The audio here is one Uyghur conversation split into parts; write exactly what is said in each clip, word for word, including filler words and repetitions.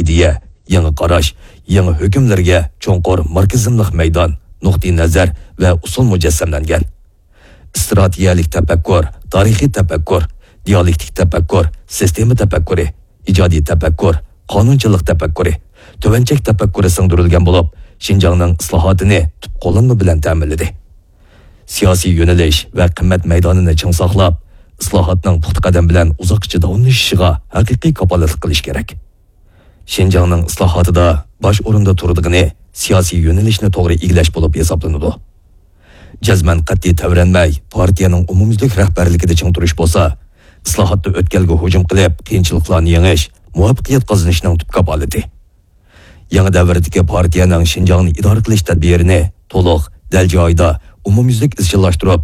ئىدىيە، يېڭى قاراش، يېڭى ھۆكۈملەرگە چوڭقۇر ماركسىزملىق مەيدان، نۇقتىئىنەزەر ۋە ئۇسۇل مۇجەسسەملەنگەن. ئىستراتېگىيەلىك تەپەككۇر، تارىخىي تەپەككۇر، دىيالېكتىك تەپەككۇر، سىستېما تەپەككۇرى، ئىجادىي تەپەككۇر، قانۇنچىلىق تەپەككۇرى، تۆۋەنچەك تەپەككۇرى سىڭدۈرۈلگەن بولۇپ، شىنجاڭنىڭ ئىسلاھاتىنى تۈپ قوللانما بىلەن تەمىنلىدى. سىياسىي يۆنىلىش ۋە قىممەت مەيدانىنى چىڭ ساقلاپ، ئىسلاھاتنىڭ پۇختا قەدەم بىلەن ئۇزاققىچە داۋاملىشىشىغا ھەقىقىي كاپالەتلىك قىلىش كېرەك. شىنجاڭنىڭ ئىسلاھاتىدا باش ئورۇندا تۇرىدىغىنى سىياسىي يۆنىلىشنى توغرا ئىگىلەش بولۇپ ھېسابلىنىدۇ. جەزمەن قەتئىي تەۋرەنمەي، پارتىيەنىڭ ئومۇميۈزلۈك رەھبەرلىكىدە چىڭ تۇرۇش بولسا، ئىسلاھاتتا ئۆتكەلگە ھۇجۇم قىلىپ، قىيىنچىلىقلارنى يېڭىش، مۇۋەپپەقىيەت قازىنىشنىڭ تۈپ كاپالىتى. يېڭى دەۋردىكى پارتىيەنىڭ شىنجاڭنى ئىدارە قىلىش تەدبىرىنى تولۇق، دەل جايىدا، ئومۇميۈزلۈك ئىزچىللاشتۇرۇپ،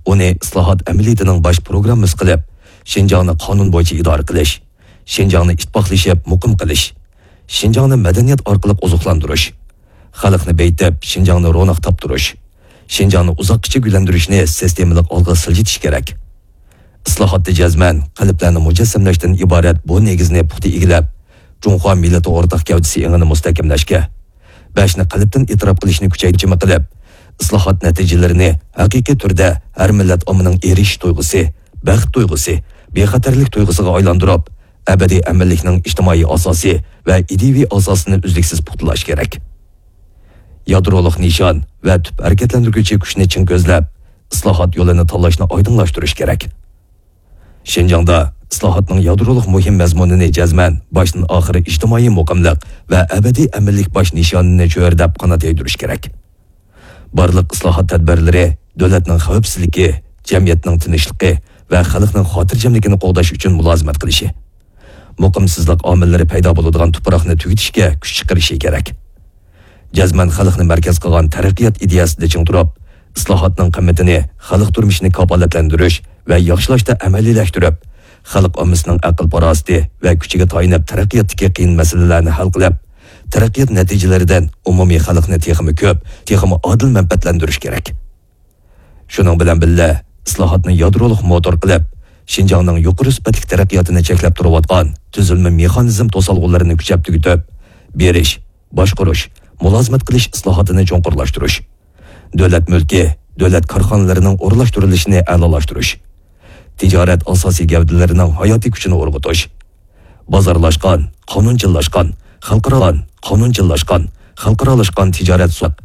ئۇنى ئىسلاھات ئەمەلىيىتىنىڭ باش پروگراممىسى قىلىپ، شىنجاڭنى قانۇن بويىچە ئىدارە قىلىش، شىنجاڭنى ئىتتىپاقلىشىپ مۇقىم قىلىش، شىنجاڭنى مەدەنىيەت ئارقىلىق ئوزۇقلاندۇرۇش، خەلقنى بېيىتىپ، شىنجاڭنى روناق تاپتۇرۇش، شىنجاڭنى ئۇزاققىچە گۈللەندۈرۈشنى سىستېمىلىق ئالغا سىلجىتىش كېرەك. ئىسلاھاتتا جەزمەن قەلبلەرنى مۇجەسسەملەشتىن ئىبارەت بۇ نېگىزنى پۇختا ئىگىلەپ، جۇڭخۇا مىللىتى ئورتاق گەۋدىسى ئېڭىنى مۇستەھكەملەشكە، بەشنى قەلبتىن ئېتىراپ قىلىشنى كۈچەيتىشىمە قىلىپ، ئىسلاھات نەتىجىلىرىنى ھەقىقىي تۈردە ھەر مىللەت ئاممىنىڭ ئېرىشىش تۇيغۇسى، بەخت تۇيغۇسى، بىخەتەرلىك تۇيغۇسىغا ئايلاندۇرۇپ، ئەبەدىي ئەمىنلىكنىڭ ئىجتىمائىي ئاساسى ۋە ئىدىيىۋى ئاساسىنى ئۈزلۈكسىز پۇختىلاش كېرەك. يادرولۇق نىشان ۋە تۈپ ھەرىكەتلەندۈرگۈچى كۈچنى چىڭ كۆزلەپ، ئىسلاھات يولىنى تاللاشنى ئايدىڭلاشتۇرۇش كېرەك. شىنجاڭدا ئىسلاھاتنىڭ يادرولۇق مۇھىم مەزمۇنىنى جەزمەن باشتىن ئاخىر ئىجتىمائىي مۇقىملىق ۋە ئەبەدىي ئەمىنلىك باش نىشانىنى چۆرىدەپ قانات يايدۇرۇش كېرەك. بارلىق ئىسلاھات تەدبىرلىرى دۆلەتنىڭ خەۋپسىزلىكى، جەمئىيەتنىڭ تىنچلىقى ۋە خەلقنىڭ خاتىرجەملىكىنى قوغداش ئۈچۈن مۇلازىمەت قىلىشى، مۇقىمسىزلىق ئامىللىرى پەيدا بولىدىغان تۇپراقنى تۈگىتىشكە كۈچ چىقىرىشى كېرەك. جەزمەن خەلقنى مەركەز قىلغان تەرەققىيات ئىدىيەسىدە چىڭ تۇرۇپ، ئىسلاھاتنىڭ قىممىتىنى خەلق تۇرمۇشىنى كاپالەتلەندۈرۈش ۋە ياخشىلاشتا ئەمەلىيلەشتۈرۈپ، خەلق ئاممىسىنىڭ ئەقىل-پاراسىتى ۋە كۈچىگە تايىنىپ تەرەققىياتتىكى قىيىن مەسىلىلەرنى ھەل قىلىپ، تەرەققىيات نەتىجىلىرىدىن ئومۇمىي خەلقنى تېخىمۇ كۆپ، تېخىمۇ ئادىل مەنپەئەتلەندۈرۈش كېرەك. شۇنىڭ بىلەن بىللە، ئىسلاھاتنى يادرولۇق موتور قىلىپ، شىنجاڭنىڭ يۇقىرى سۈپەتلىك تەرەققىياتىنى چەكلەپ تۇرۇۋاتقان تۈزۈلمە مېخانىزم توسالغۇلىرىنى كۈچەپ تۈگىتىپ، بېرىش، باشقۇرۇش، مۇلازىمەت قىلىش ئىسلاھاتىنى چوڭقۇرلاشتۇرۇش، دۆلەت مۈلكى، دۆلەت كارخانىلىرىنىڭ ئورۇنلاشتۇرۇلۇشىنى ئەلالاشتۇرۇش، تىجارەت ئاساسىي گەۋدىلىرىنىڭ ھاياتىي كۈچىنى ئۇرغۇتۇش، بازارلاشقان، قانۇنچىللاشقان، خەلقئارا-، قانۇنچىللاشقان، خەلقئارالاشقان تىجارەت سۇ-،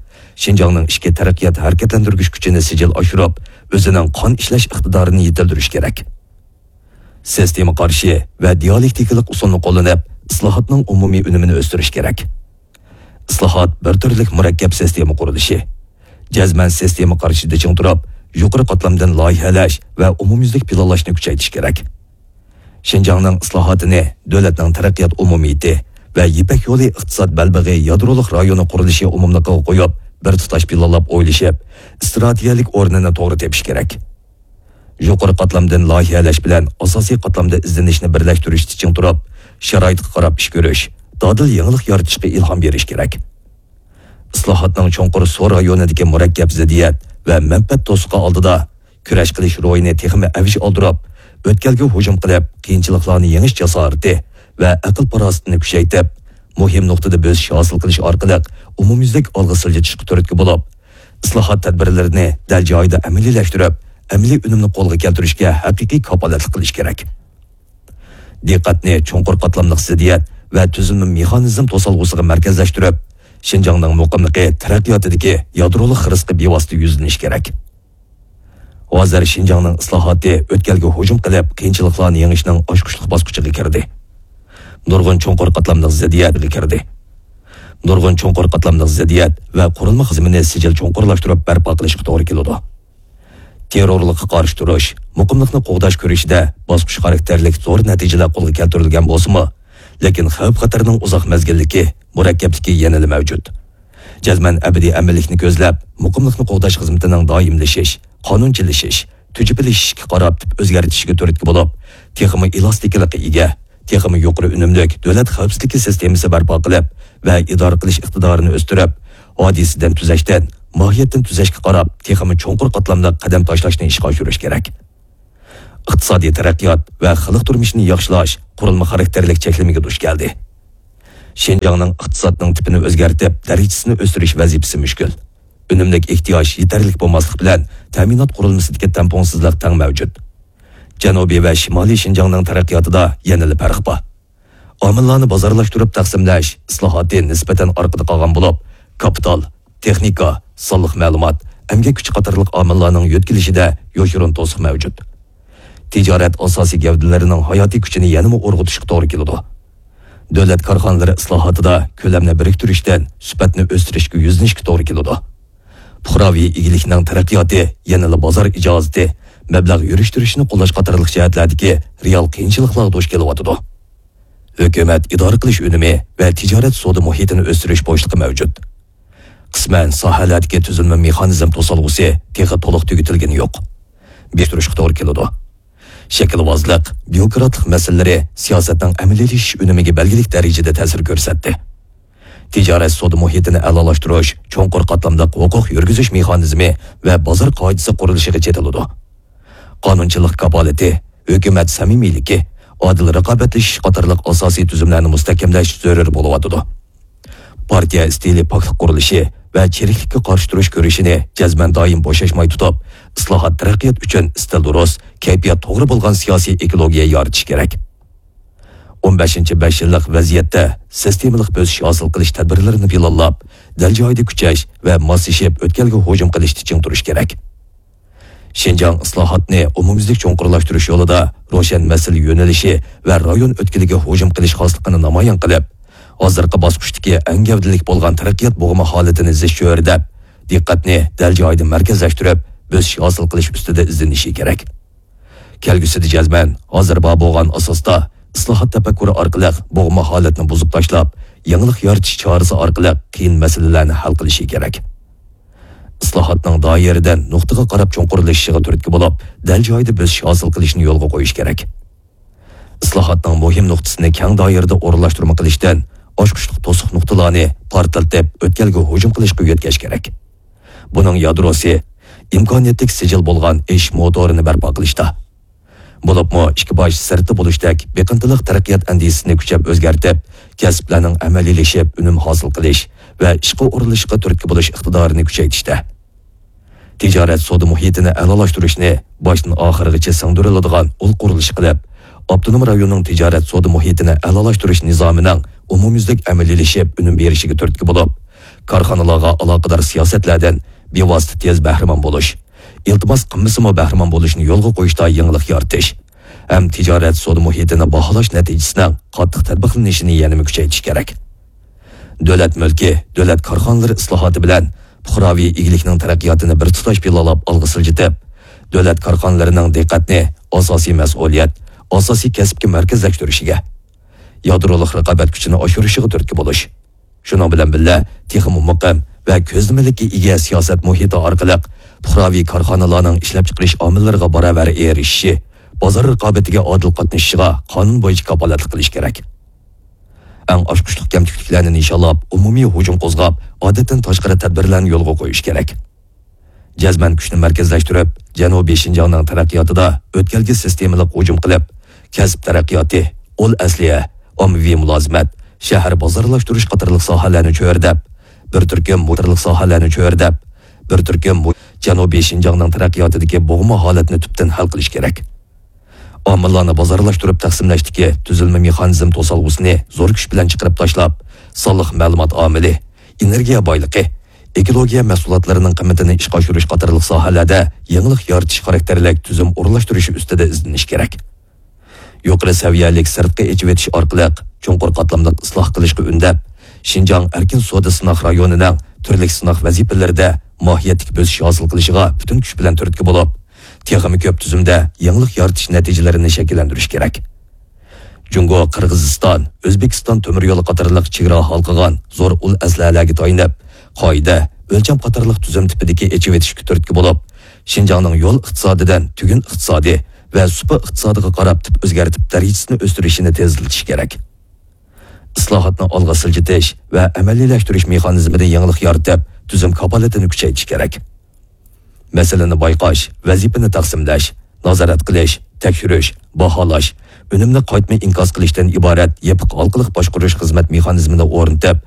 شىنجاڭنىڭ ئىچكى تەرەققىيات ھەرىكەتلەندۈرگۈچ كۈچىنى سىجىل ئاشۇرۇپ، ئۆزىنىڭ قان ئىشلەش ئىقتىدارىنى يېتىلدۈرۈش كېرەك. سىستېما قارىشى ۋە دىيالېكتىكىلىق ئۇسۇلنى قوللىنىپ، ئىسلاھاتنىڭ ئومۇمىي ئۈنۈمىنى ئۆستۈرۈش كېرەك. ئىسلاھات بىر تۈرلۈك مۇرەككەپ سىستېما قۇرۇلۇشى. جەزمەن سىستېما قارىشىدا چىڭ تۇرۇپ، يۇقىرى قاتلامدىن لايىھەلەش ۋە ئومۇميۈزلۈك پىلانلاشنى كۈچەيتىش كېرەك. شىنجاڭنىڭ ئىسلاھاتىنى دۆلەتنىڭ تەرەققىيات ئومۇمىيىتى ۋە يىپەك يولى ئىقتىساد بەلبېغى يادرولۇق رايونى قۇرۇلۇشى ئومۇملۇقىغا قويۇپ، بىر تۇتاش پىلانلاپ ئويلىشىپ، ئىستراتېگىيەلىك ئورنىنى توغرا تېپىش كېرەك. يۇقىرى قاتلامدىن لايىھەلەش بىلەن ئاساسىي قاتلامدا ئىزدىنىشنى بىرلەشتۈرۈشتە چىڭ تۇرۇپ، شارائىتقا قاراپ ئىش كۆرۈش، دادىل يېڭىلىق يارىتىشقا ئىلھام بېرىش كېرەك. ئىسلاھاتنىڭ چوڭقۇر سو رايونىدىكى مۇرەككەپ زىددىيەت ۋە مەنپەئەت توسۇقى ئالدىدا كۈرەش قىلىش روھىنى تېخىمۇ ئەۋج ئالدۇرۇپ، ئۆتكەلگە ھۇجۇم قىلىپ، قىيىنچىلىقلارنى يېڭىش جاسارىتى ۋە ئەقىل-پاراسىتىنى كۈچەيتىپ، مۇھىم نۇقتىدا بۆسۈش ھاسىل قىلىش ئارقىلىق ئومۇميۈزلۈك ئالغا سىلجىتىشقا تۈرتكە بولۇپ، ئىسلاھات تەدبىرلىرىنى دەل جايىدا ئەمەلىيلەشتۈرۈپ، ئەمەلىي ئۈنۈمنى قولغا كەلتۈرۈشكە ھەقىقىي كاپالەتلىك قىلىش كېرەك. دىققەتنى چوڭقۇر قاتلاملىق زىددىيەت ۋە تۈزۈلمە مېخانىزم توسالغۇسىغا مەركەزلەشتۈرۈپ، شىنجاڭنىڭ مۇقىملىقى تەرەققىياتىدىكى يادرولۇق خىرىسقا بىۋاسىتە يۈزلىنىش كېرەك. ھازىر شىنجاڭنىڭ ئىسلاھاتى ئۆتكەلگە ھۇجۇم قىلىپ، قىيىنچىلىقلارنى يېڭىشنىڭ ئاچقۇچلۇق باسقۇچىغا كىردى. نۇرغۇن چوڭقۇر قاتلاملىق زىددىيەتكە كىردى. نۇرغۇن چوڭقۇر قاتلاملىق زىددىيەت ۋە قۇرۇلما خىزمىنى سىجىل چوڭقۇرلاشتۇرۇپ بەرپا قىلىشقا توغرا كېلىدۇ. تېررورلۇققا قارشى تۇرۇش، مۇقىملىقنى قوغداش كۈرىشىدە باسقۇچ خاراكتېرلىك زور نەتىجىلەر قولغا كەلتۈرۈلگەن بولسىمۇ، لېكىن خەۋپ-خەتەرنىڭ ئۇزاق مەزگىللىكى، مۇرەككەپلىكى يەنىلا مەۋجۇت. جەزمەن ئەبەدىي ئەمىنلىكنى كۆزلەپ، مۇقىملىقنى قوغداش خىزمىتىنىڭ دائىملىشىش، قانۇنچىلىشىش، تۈجۈپىلىشىشكە قاراپ تۈپ ئۆزگەرتىشىگە تۈرتكە بولۇپ، تېخىمۇ ئېلاستىكىلىققا ئىگە، تېخىمۇ يۇقىرى ئۈنۈملۈك دۆلەت خەۋپسىزلىكى سىستېمىسى بەرپا قىلىپ ۋە ئىدارە قىلىش ئىقتىدارىنى ئۆستۈرۈپ، ھادىسىدىن تۈزەشتىن ماھىيەتتىن تۈزەشكە قاراپ تېخىمۇ چوڭقۇر قاتلاملىق قەدەم تاشلاشنى ئىشقا ئاشۇرۇش كېرەك. ئىقتىسادىي تەرەققىيات ۋە خەلق تۇرمۇشىنى ياخشىلاش قۇرۇلما خاراكتېرلىك چەكلىمىگە دۇچ كەلدى. شىنجاڭنىڭ ئىقتىسادنىڭ تىپىنى ئۆزگەرتىپ، دەرىجىسىنى ئۆستۈرۈش ۋەزىپىسى مۈشكۈل. ئۈنۈملۈك ئېھتىياج يېتەرلىك بولماسلىق بىلەن، تەمىنات قۇرۇلمىسىدىكى تەڭپۇڭسىزلىق تەڭ مەۋجۇت. جەنۇبىي ۋە شىمالىي شىنجاڭنىڭ تەرەققىياتىدا يەنىلا پەرق بار. ئامىللارنى بازارلاشتۇرۇپ تەقسىملەش ئىسلاھاتى نىسبەتەن ئارقىدا قالغان بولۇپ، كاپىتال، تېخنىكا، سانلىق مەلۇمات، ئەمگەك كۈچى قاتارلىق ئامىللارنىڭ يۆتكىلىشىدە يوشۇرۇن توسۇق مەۋجۇت. تىجارەت ئاساسىي گەۋدىلىرىنىڭ ھاياتىي كۈچىنى يەنىمۇ ئۇرغۇتۇشقا توغرا كېلىدۇ. دۆلەت كارخانىلىرى ئىسلاھاتىدا كۆلەمنى بىرىكتۈرۈشتىن سۈپەتنى ئۆستۈرۈشكە يۈزلىنىشكە توغرا كېلىدۇ. پۇقراۋى ئىگىلىكنىڭ تەرەققىياتى يەنىلا بازار ئىجازىتى، مەبلەغ يۈرۈشتۈرۈشنى قوللاش قاتارلىق جەھەتلەردىكى رېئال قىيىنچىلىقلارغا دۇچ كېلىۋاتىدۇ. ھۆكۈمەت ئىدارە قىلىش ئۈنۈمى ۋە تىجارەت سودا مۇھىتىنى ئۆستۈرۈش بوشلۇقى مەۋجۇت. قىسمەن ساھەلەردىكى تۈزۈلمە مېخانىزم توسالغۇسى تېخى تولۇق تۈگىتىلگىنى يوق. بېسىشتۇرۇشقا توغرا كېلىدۇ. شەكىلۋازلىق، بيۇروكراتلىق مەسىلىلىرى سىياسەتنىڭ ئەمەلىيلىشىش ئۈنۈمىگە بەلگىلىك دەرىجىدە تەسىر كۆرسەتتى. تىجارەت سودا مۇھىتىنى ئەلالاشتۇرۇش چوڭقۇر قاتلاملىق ھوقۇق يۈرگۈزۈش مېخانىزمى ۋە بازار قائىدىسى قۇرۇلۇشىغا چېتىلىدۇ. قانۇنچىلىق كاپالىتى، ھۆكۈمەت سەمىمىيلىكى، ئادىل رىقابەتلىشىش قاتارلىق ئاساسىي تۈزۈملەرنى مۇستەھكەملەش زۆرۈر بولۇۋاتىدۇ. پارتىيە ئىستىلى پاكلىق قۇرۇلۇشى ۋە چىرىكلىككە قارشى تۇرۇش كۈرىشىنى جەزمەن دائىم بوشاشماي تۇتۇپ، ئىسلاھات تەرەققىيات ئۈچۈن ئىستىل دۇرۇس، كەيپىيات توغرا بولغان سىياسىي ئېكولوگىيە يارىتىش كېرەك. ئون بەشىنچى بەش يىللىق ۋەزىيەتتە سىستېمىلىق بۆسۈش ھاسىل قىلىش تەدبىرلىرىنى پىلانلاپ، دەل جايىدا كۈچەش ۋە ماسلىشىپ ئۆتكەلگە ھۇجۇم قىلىشتا چىڭ تۇرۇش كېرەك. شىنجاڭ ئىسلاھاتنى ئومۇميۈزلۈك چوڭقۇرلاشتۇرۇش يولىدا روشەن مەسىلە يۆنىلىشى ۋە رايون ئۆتكىلىگە ھۇجۇم قىلىش خاسلىقىنى نامايان قىلىپ، ھازىرقى باسقۇچتىكى ئەڭ گەۋدىلىك بولغان تەرەققىيات بوغۇمى ھالىتىنى زىچ چۆرىدەپ، دىققەتنى دەل جايىدا مەركەزلەشتۈرۈپ، بۆسۈش ھاسىل قىلىش ئۈستىدە ئىزدىنىشى كېرەك. كەلگۈسىدە جەزمەن ھازىر بار بولغان ئاساستا ئىسلاھات تەپەككۇرى ئارقىلىق بوغما ھالەتنى بۇزۇپ تاشلاپ، يېڭىلىق يارىتىش چارىسى ئارقىلىق قىيىن مەسىلىلەرنى ھەل قىلىشى كېرەك. ئىسلاھاتنىڭ دائىرىدىن نۇقتىغا قاراپ چوڭقۇرلىشىشىغا تۈرتكە بولۇپ، دەل جايىدا بۆسۈش ھاسىل قىلىشنى يولغا قويۇش كېرەك. ئىسلاھاتنىڭ مۇھىم نۇقتىسىنى كەڭ دائىرىدە ئورۇنلاشتۇرما قىلىشتىن، ئاچقۇچلۇق توسۇق نۇقتىلارنى پارتلىتىپ، ئۆتكەلگە ھۇجۇم قىلىشقا يۆتكەش كېرەك. بۇنىڭ يادروسى ئىمكانىيەتلىك سىجىل بولغان ئېشىش موتورىنى بەرپا قىلىشتا. بولۇپمۇ ئىككى باش سىرتتا بولۇشتەك بېقىندىلىق تەرەققىيات ئەندىزىسىنى كۈچەپ ئۆزگەرتىپ، كەسىپلەرنىڭ ئەمەلىيلىشىپ ئۈنۈم ھاسىل قىلىش ۋە ئىشقا ئورۇنلىشىشقا تۈرتكە بولۇش ئىقتىدارىنى كۈچەيتىشتە. تىجارەت سودا مۇھىتىنى ئەلالاشتۇرۇشنى باشتىن ئاخىرغىچە سىڭدۈرۈلىدىغان ئۇل قۇرۇلۇشى قىلىپ، ئاپتونوم رايوننىڭ تىجارەت سودا مۇھىتىنى ئەلالاشتۇرۇش نىزامىنىڭ ئومۇميۈزلۈك ئەمەلىيلىشىپ ئۈنۈم بېرىشىگە تۈرتكە بولۇپ، كارخانىلارغا ئالاقىدار سىياسەتلەردىن بىۋاسىتە تېز بەھرىمەن بولۇش، ئىلتىماس قىلمىسىمۇ بەھرىمەن بولۇشنى يولغا قويۇشتا يېڭىلىق يارىتىش ھەم تىجارەت سودا مۇھىتىنى باھالاش نەتىجىسىنىڭ قاتتىق تەتبىقلىنىشىنى يەنىمۇ كۈچەيتىش كېرەك. دۆلەت مۈلكى، دۆلەت كارخانىلىرى ئىسلاھاتى بىلەن پۇقراۋى ئىگىلىكنىڭ تەرەققىياتىنى بىر تۇتاش پىلانلاپ ئالغا سىلجىتىپ، دۆلەت كارخانىلىرىنىڭ دىققەتنى ئاساسىي مەسئۇلىيەت، ئاساسىي كەسىپكە مەركەزلەشتۈرۈشىگە، يادرولۇق رىقابەت كۈچىنى ئاشۇرۇشىغا تۈرتكە بولۇش، شۇنىڭ بىلەن بىللە، تېخىمۇ مۇقىم ۋە كۆزلىمىلىككە ئىگە سىياسەت مۇھىتى ئارقىلىق پۇقراۋى كارخانىلارنىڭ ئىشلەپچىقىرىش ئامىللىرىغا باراۋەر ئېرىشىشى، بازار رىقابىتىگە ئادىل قاتنىشىشىغا قانۇن بويىچە كاپالەتلىك قىلىش كېرەك. ئەڭ ئاچقۇچلۇق كەمتۈكلۈكلەرنى نىشانلاپ، ئومۇمىي ھۇجۇم قوزغاپ، ئادەتتىن تاشقىرى تەدبىرلەرنى يولغا قويۇش كېرەك. جەزمەن كۈچنى مەركەزلەشتۈرۈپ، جەنۇبىي شىنجاڭنىڭ تەرەققىياتىدا ئۆتكەلگە سىستېمىلىق ھۇجۇم قىلىپ، كەسىپ تەرەققىياتى، ئۇل ئەسلىھە، ئاممىۋى مۇلازىمەت، شەھەر بازارلاشتۇرۇش قاتارلىق ساھەلەرنى چۆرىدەپ، بىر تۈركۈم قاتارلىق ساھەلەرنى چۆرىدەپ، بىر تۈركۈم جەنۇبىي شىنجاڭنىڭ تەرەققىياتىدىكى بوغما ھالەتنى تۈپتىن ھەل قىلىش كېرەك. ئامىللارنى بازارلاشتۇرۇپ تەقسىملەشتىكى تۈزۈلمە مېخانىزم توسالغۇسىنى زور كۈچ بىلەن چىقىرىپ تاشلاپ، سانلىق مەلۇمات ئامىلى، ئېنېرگىيە بايلىقى، ئېكولوگىيە مەھسۇلاتلىرىنىڭ قىممىتىنى ئىشقا ئاشۇرۇش قاتارلىق ساھەلەردە يېڭىلىق يارىتىش خاراكتېرلىك تۈزۈم ئورۇنلاشتۇرۇشى ئۈستىدە ئىزدىنىش كېرەك. يۇقىرى سەۋىيەلىك سىرتقا ئېچىۋېتىش ئارقىلىق چوڭقۇر قاتلاملىق ئىسلاھ قىلىشقا ئۈندەپ، شىنجاڭ ئەركىن سودا سىناق رايونىنىڭ تۈرلۈك سىناق ۋەزىپىلىرىدە ماھىيەتلىك بۆسۈش ھاسىل قىلىشىغا پۈتۈن كۈچ بىلەن تۈرتكە بولۇپ، تېخىمۇ كۆپ تۈزۈمدە يېڭىلىق يارىتىش نەتىجىلىرىنى شەكىللەندۈرۈش كېرەك. جۇڭگو، قىرغىزىستان، ئۆزبېكىستان تۆمۈر يولى قاتارلىق چېگرا ھالقىغان زور ئۇل ئەسلىھەلەرگە تايىنىپ، قائىدە، ئۆلچەم قاتارلىق تۈزۈم تىپىدىكى ئېچىۋېتىشكە تۈرتكە بولۇپ، شىنجاڭنىڭ يول ئىقتىسادىدىن تۈگۈن ئىقتىسادى ۋە سۇپا ئىقتىسادىغا قاراپ تىپ ئۆزگەرتىپ، دەرىجىسىنى ئۆستۈرۈشىنى تېزلىتىش كېرەك. ئىسلاھاتنى ئالغا سىلجىتىش ۋە ئەمەلىيلەشتۈرۈش مېخانىزمىدا يېڭىلىق يارىتىپ، تۈزۈم كاپالىتىنى كۈچەيتىش كېرەك. مەسىلىنى بايقاش، ۋەزىپىنى تەقسىملەش، نازارەت قىلىش، تەكشۈرۈش، باھالاش، ئۈنۈمنى قايتما ئىنكاس قىلىشتىن ئىبارەت يېپىق ھالقىلىق باشقۇرۇش خىزمەت مېخانىزمىنى ئورنىتىپ،